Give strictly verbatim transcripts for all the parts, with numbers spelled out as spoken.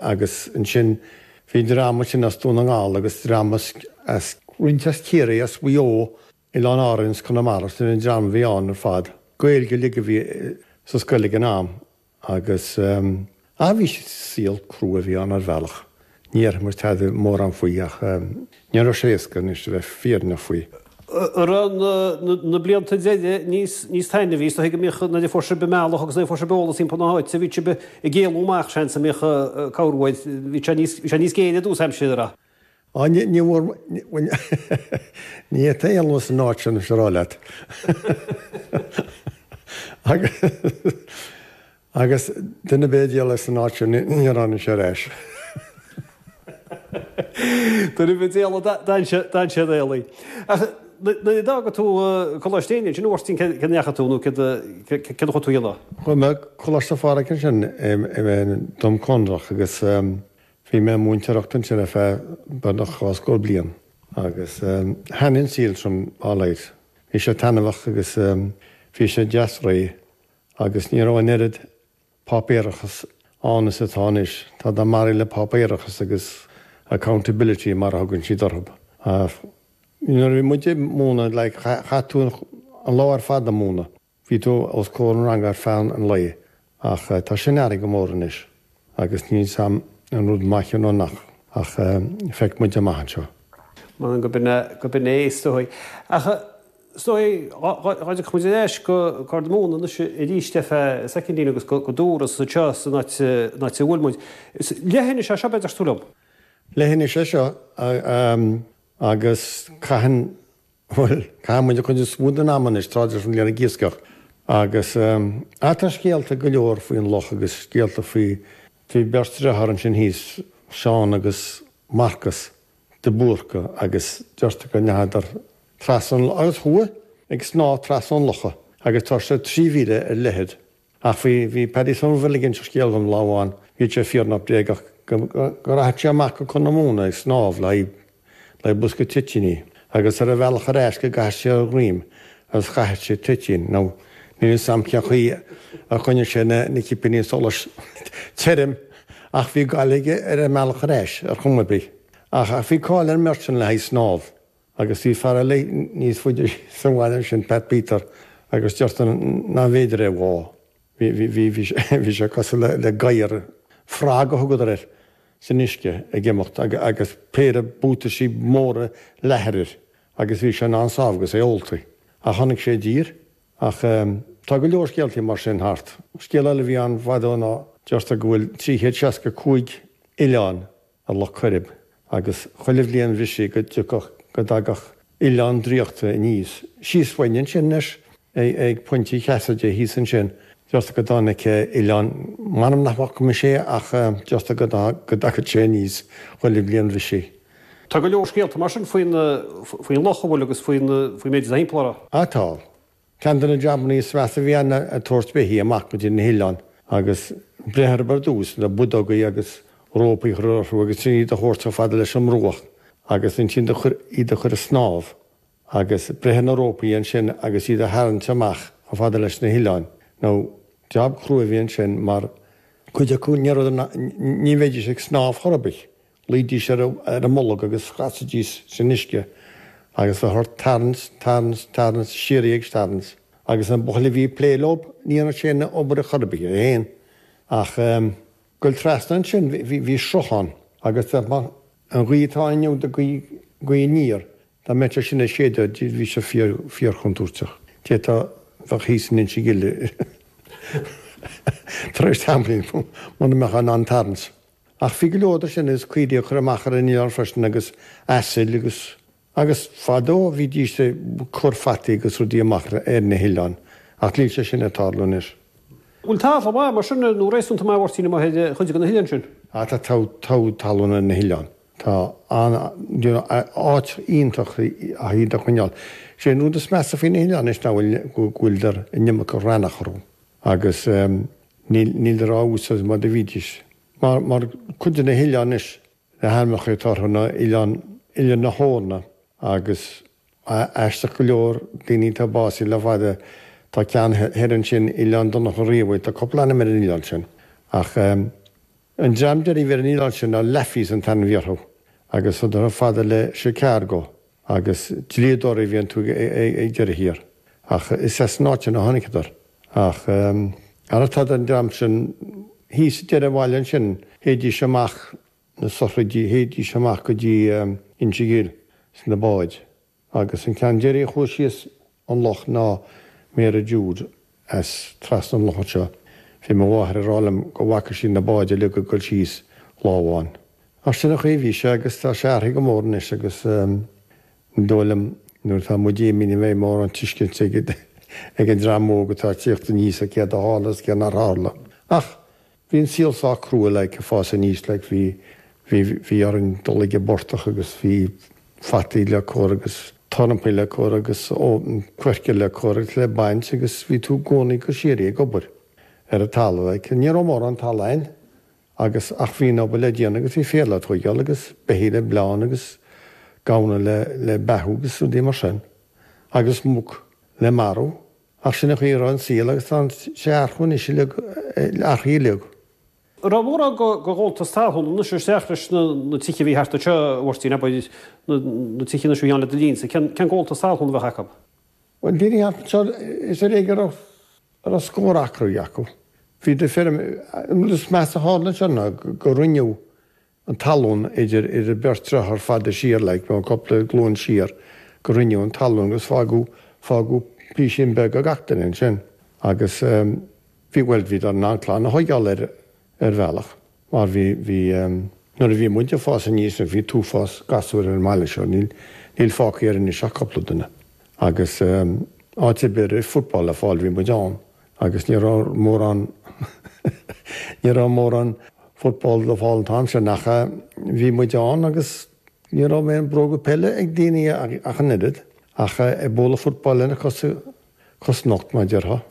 Agus ansin bhí dream ansin as Dún na nGall agus dream as roinnt as Ciarraí, as Mhaigh Eo, Oileáin Árann is Conamara, sin an dream a bhí ann ar fad. Gaeilge uilig a bhí sa scoil ag an am agus ah bhí saol crua a bhí ann ar bhealach. Ní déarfaidh muid tada mórán faoi ach ní raibh sé éasca anois a bheith fírinneach faoi. An raibh na blianta deiridh níos níos taitneamhaí, is dóigh go mbíodh nuair a fuair sibh an bealach agus nuair a fuair sibh eolas timpeall na háite, bhí sibh ag éalú amach seans a mbíodh cabhair uait, bhí sé níos bhí sé níos géire i dtús aimsire a. Á ní ní bhfuair ní fhéadfá éalú san áit sin is a rá leat. Agus Agus duine ar bith a d'éalaigh san áit sin níor tháinig sé ar ais. Duine ar bith a d'éalaigh d'fhan sé éalaithe. Ach nuair a d'fhága tú Coláiste Éinne ansin a Mháirtín cé ndeachaigh tú nó céard a chuaigh tú a dhéanamh? Chuaigh mé Coláiste Phádraig ansin i dTum Conrach agus bhí mé ag múinteoireacht ansin ar feadh beagnach dhá scór bliain agus thaitnigh an saol sin alright. Bhí sé taitneamhach agus bhí sé deas réidh agus ní raibh an oiread páipéarachas ann is atá anois. Tá maraithe le páipéarachas agus accountability mar a thugann siad orthu. Nuair a bhí muid ag múineadh like chaith tú an lá ar fad ag múineadh. Bhí tú os comhair an ranga ar feadh an lae ach tá sin athraithe go mór anois agus níl 's a'm an rud maith nó nach ach feicfidh muid amach anseo. M'anam go b'in é is dóigh. Ach is dóigh, dá dtiocfadh muid ar ais go Corr na Móna anois arís ar feadh soicindín agus go Dúras anseo san áit a bhfuil muid. Is leithinis é seo b'fhéidir, tú liom? Leithinis é seo agus caitheann, bhuel, caitheann muid an chuid is mó den am anois tráth den bhliain ag iascach agus ah tá scéalta go leor faoin loch agus scéalta faoi, bhí beirt deartháir ansin thíos, Seán agus Marcas de Búrca agus deirtear go ndeachadar trasna an agus chuaigh ag snámh trasna an locha agus tá sé trí mhíle ar leithead. Ach bhí bhí Paddy Somerville ag inse scéal dom lá amháin, bhí sé fíor bréagach go go rachadh sé amach go Corr na Móna ag snámh le haghaidh le haghaidh bosca toitíní agus ar a bhealach ar ais go gcaithfeadh sé a dhroim agus chaithfeadh sé toitín nó níl 'fhios a'm cén chaoi a choinnigh sé na na cipíní solais tirim ach bhí gail aige ar an mbealach ar ais ar chuma ar bith. Ach ach bhí cáil ar an mbeirt sin le haghaidh snámh. Agus bhí fear eile níos faide sa bhaile ansin, Pat Peter, agus deirtear nárbh fhéidir é a bhá. Bhí, bhí, bhí, bhí, bhí sé cosúil le, le gadhar, frog a thugadar air, san uisce ag imeacht agus péire buataisí móra leathair air agus bhí sé in ann snámh agus é ólta. Ach tháinig sé i dtír. Ach tá go leor scéaltaí mar sin thart. Scéal eile a bhí ann fadó ná deirtear go bhfuil trí chéad seasca cúig oileán ar Loch Coirib agus chuile bhliain bhrisigh go dtiocfadh, go dtagadh oileán draíochta aníos. Síos uainn ansin anois, ag Pointe Chassidy thíos ansin, deirtear go dtáinig oileán, m'anam nach bhfaca mise é ach deirtear go dtagadh sé aníos chuile bhliain bhrisigh. Tá go leor scéalta mar sin faoin, faoin loch, an bhfuil agus faoin, faoin méid atá thimpeall orthu. Á tá. Ceann de na jabannaí is measa a bhí ann ná ag tabhairt beithígh amach go dtí na hoileáin agus breith orthu ar dtús le buideogaí agus rópaí a chur orthu agus ansin iad a thabhairt chomh fada leis an mbruach agus ansin iad a chur ag snámh agus breith ar na rópaí ansin agus iad a tharraingt amach chomh fada leis na hoileáin. Now, jab crua a bhí ansin mar cuid acu ní raibh, ní bheidís ag snámh chor ar bith, luídís ar a mbolg agus chasaidís san uisce agus bheadh ort tarraingt, tarraingt, tarraingt, síoraí ag tarraingt agus an buachaill a bhí ag plé leo ní dhéanadh sé an obair chor ar bith é féin ach Goil trasna ansin bhí sruthán agus dá mbeadh an ghaoth atá inniu de gaoth aniar, dá mbeadh sé sin ag séideadh bhí sé fíor fíorchontúirteach. D'fhéadfá bheadh thíos in Inse Gile tar éis tamaillín muna mbeadh in ann tarraingt. Ach bhí go leor de sin agus caoirigh a chur amach ar an oileán freisin agus asail agus Agus fadó bhídís ag cur fataí agus rudaí amach ar na hoileáin, ach níl sé sin ag tarlú anois. Bhfuil talamh maith mar sin, nó réasúnta maith, a Mháirtín, amuigh ar chuid de na hoileáin sin? Ah tá togha talún ar na hoileáin. Tá an, you know, áit iontach iad a choinneáil. Sé an rud is measa faoi na hoileáin anois ná go bhfuileadar an iomarca raithneach orthu agus níl, níleadar á úsáid mar a bhídís. Mar, mar cuid de na hoileáin anois, Na hainmneacha atá orthu ná Oileán Oileán na hEorna agus, aisteach go leor, daoine atá básaithe le fada, tá ceann thoir ansin, Oileán Donncha Riabhaigh, tá cúpla ainm ar an oileán sin. Ach An dream deiridh a bhí ar an oileán sin ná Laffeys an t-ainm a bhí orthu agus chuadar chomh fada le Chicago agus dlíodóirí a bhí iontu ag deireadh thiar. Ach is as an áit sin a tháinigeadar. Ach ara tá an dream sin thíos ag deireadh an bhaile ansin, théidís amach na sochraidí, théidís amach go dtí Inse Ghil sna báid. Agus an ceann deiridh a chuaigh síos an loch ná Mary Jude as trasna an loch anseo. Bhí mo mháthair ag rá liom go bhfaca sí na báid uilig ag dul síos lá amháin. Ach sin an chaoi a bhí sé agus tá sé athraithe go mór anois agus ní dóigh liom nuair atá muid imithe ní bheidh mórán tuiscint ag ag an dream óg atá ag tíocht aníos ar céard a tharla is céard nár tharla. Ach bhí an saol sách crua like ag fás aníos like bhí bhí bhí orainn dul ag an bportach agus bhí fataí le cur agus tornapaí le cur agus coirce le cur agus le baint agus bhí tú i gcónaí go síoraí ag obair ar an talamh. Like, ní raibh mórán talaimh a'inn agus ach bhí an obair le déanamh agus bhí féar le tóigeáil agus beithígh le bleán agus gamhna le le beathú agus rudaí mar sin agus muc le marú. Ach sin an chaoi a raibh an saol agus tá sé athrú anois uilig, athraithe uilig. An raibh mórán de ghabháltas talún anois isteach leis na tithe a bhí thart anseo, a Mháirtín, abair, na tithe anois a bhí ann le do linnse, cén gabháltas talún a bheadh acu? Bhuel, daoine thart anseo, is ar éigean a raibh, a raibh scór acraí acu. Bhí do feirm, an rud is measa a tharla anseo ná go roinneadh an talún idir, idir beirt deartháir fada siar, like, cúpla glúin siar, go roinneadh an talún agus fágadh, fágadh písín beag ag gach duine ansin. Agus bhí, bhuel, bhíodar in ann clann a thóigeáil air ar bhealach mar bhí, bhí, nuair a bhí muid ag fás aníos, bhí an t-uafás gasúir ar an mbaile seo, níl, níl fágtha air anois ach cúpla duine. Agus áit ar bith a raibh football le fáil bhí muid ann agus ní raibh mórán, ní raibh mórán football le fáil an t-am sin ach bhí muid ann agus ní raibh aon bróga peile ag daoine ach an oiread. Ach ag bualadh football lena cosa, cos nocht mar a déarfá.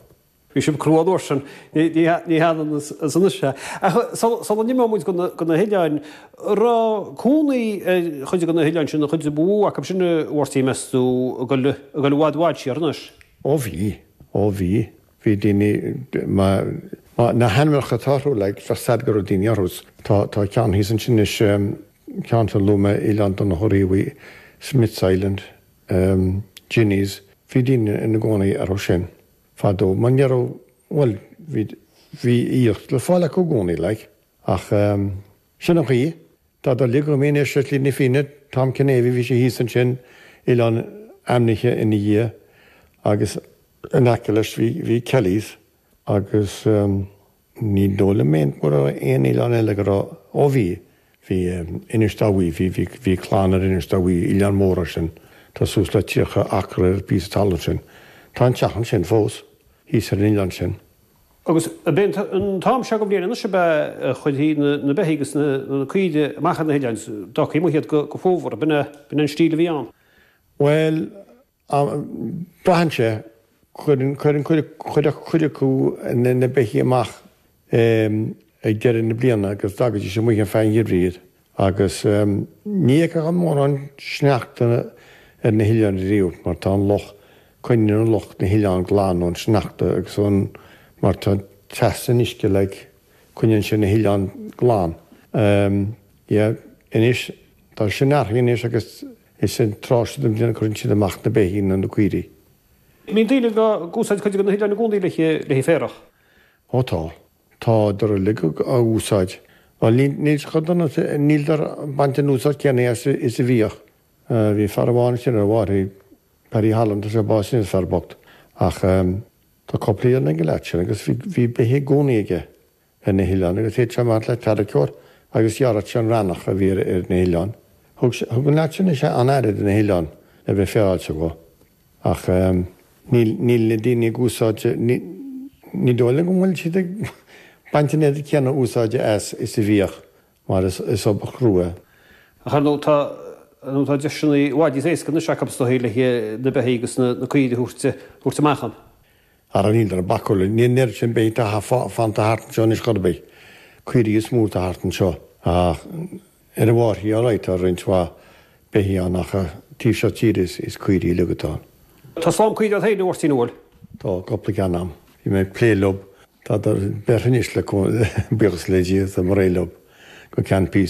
Bhí sibh crua an uair sin, ní hionann is anois é. Ach sula n-imeoidh muid go na hoileáin, raibh cónaí ar chuid de na hoileáin sin, an chuid ba mhó acu sin, a Mháirtín, meas tú, ag dul i bhfad i bhfad siar anois? Ó bhí, ó bhí. Bhí daoine, na hainmneacha atá orthu, like, bheadh a fhios a'd go raibh daoine orthu. Tá, tá ceann thíos ansin anois, ceann a luaigh mé, Oileán Donncha Riabhaigh, Smith's Island. Ginny's, bhí daoine ina gcónaí orthu sin fadó mar ní raibh, bhuel, bhí, bhí iasc le fáil acu i gcónaí, like. Ach sin an chaoi, tá uilig go mbíonn ar Shlí na Fírinne, Tom Kinavey, bhí sé thíos ansin, oileán ainmnithe ina dhiaidh agus in aice leis bhí, bhí Kelly's agus. Ní dóigh liom aon go raibh aon oileán eile go raibh, ó bhí, bhí Inis Dá Bhuí, bhí, bhí, bhí clann ar Inis Dá Bhuí, oileán mór é sin, tá suas le tríocha acra ar an bpíosa talún sin. Tá an teach ansin fós, thíos ar an oileán sin. Agus ab é an t-am seo den bhliain anois ab ea a chuirtí na beithígh agus na caoirigh amach ar na hoileáin, d'fhágtaí amuigh iad go fómhar, ab in é an stíl a bhí ann? Bhuel, Braitheann sé, cuireann cuid cuid acu na beithígh amach ag deireadh na bliana agus d'fhágaidís amuigh ar feadh an gheimhridh iad agus ní fheicfeá mórán sneachta ar na hoileáin riamh mar tá an loch, coinníonn an loch na hoileáin glan ón sneachta agus ón, mar tá teas san uisce like, coinníonn sé na hoileáin glan. Yeah, anois, tá sin athraithe anois agus Is an tráth seo den bhliain a chuireann siad amach na beithígh nó na caoirigh. Mbíonn daoine ag úsáid cuid de na hoileáin i gcónaí le haghaidh féarach? Ó tá. Tádar uilig á úsáid. Bhuel, níl sé chomh dona, níltear ag baint an úsáid céanna as is a bhíodh. Bhí fear amháin ansin ar a mhairfidh, Paddy Holland, tá sé básaithe anois, fear bocht. Ach tá cúpla oileán ag an leaid sin agus bhí beithígh i gcónaí aige. ar na hoileáin agus théadh sé amach le tarracóir agus ghearradh sé an raithneach a bhí ar na hoileáin. Thug sé, thug an leaid sin is ea an-aire do na hoileáin le bheith féaráilte dhó. Ach níl, níl na daoine ag úsáid, ní, ní dóigh liom go bhfuil siad ag baint an oiread céanna úsáide as is a bhíodh mar is, is obair chrua é. Ach ar ndóigh tá, ar ndóigh tá deiseanna i bhfad níos éasca anois acu is dóigh le na beithígh agus na, na caoirigh a thabhairt, thabhairt amach ann. Ara níltear ag bacadh le, níl an oiread sin beithígh atá fanta thart anseo anois chor ar bith. Caoirigh is mó atá thart anseo. Ach ar an bhFairche alright tá roinnt mhaith beithígh ann ach taobh seo tíre is caoirigh uilig atá ann. Tá slám caoirigh agat féin, a Mháirtín, an bhfuil? Tá cúpla ceann a'm. Bhí mé ag plé leo. Tádar beirthe anois le buíochas le Dia, táim réidh leo. go ceann píosa.